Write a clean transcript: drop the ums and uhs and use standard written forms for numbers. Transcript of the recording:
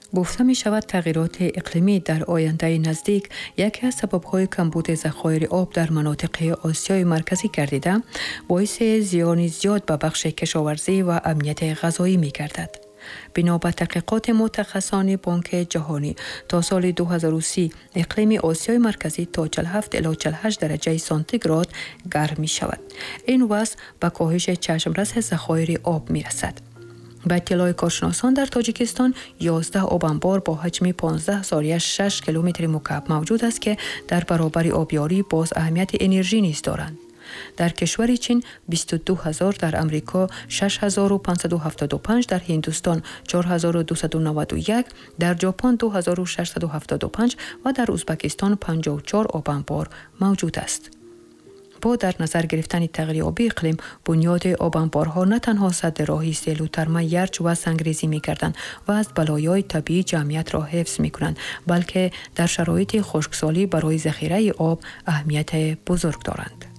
Гуфта мешавад, тағйироти иқлимӣ дар ояндаи наздик яке аз сабабҳои камбуди захоири об дар манотиқи Осиёи Марказӣ гардида, боиси зиёни зиёд ба бахши кишоварзӣ ва амнияти ғазоӣ мегардад. Бино ба таҳқиқоти мутахассисони Бонки Ҷаҳонӣ, то соли 2030 иқлими Осиёи Марказӣ то 47 ило 48 дараҷаи сантиград гарм мешавад. Ин вазъ ба коҳиши чашмраси захоири об мерасад. Ба иттилои коршиносон, дар Тоҷикистон 11 обанбор бо ҳаҷми 15,6 километри мукааб мавҷуд аст, ки дар баробари обёрӣ боз аҳамияти энержӣ низ доранд. Дар кишвари Чин 22 ҳазор, дар Амрико 6575, дар Ҳиндустон 4291, дар Ҷопон 2675 ва дар Узбакистон 54 обанбор мавҷуд аст. Бо дар назар гирифтани тағйирёбии иқлим, бунёди обанборҳо на танҳо садди роҳи селу тарма, ярч ва сангрезӣ мегарданд ва аз балоёи табиӣ ҷамъиятро ҳифз мекунанд, балки дар шароити хушксолӣ барои захираи об аҳамияти бузург доранд.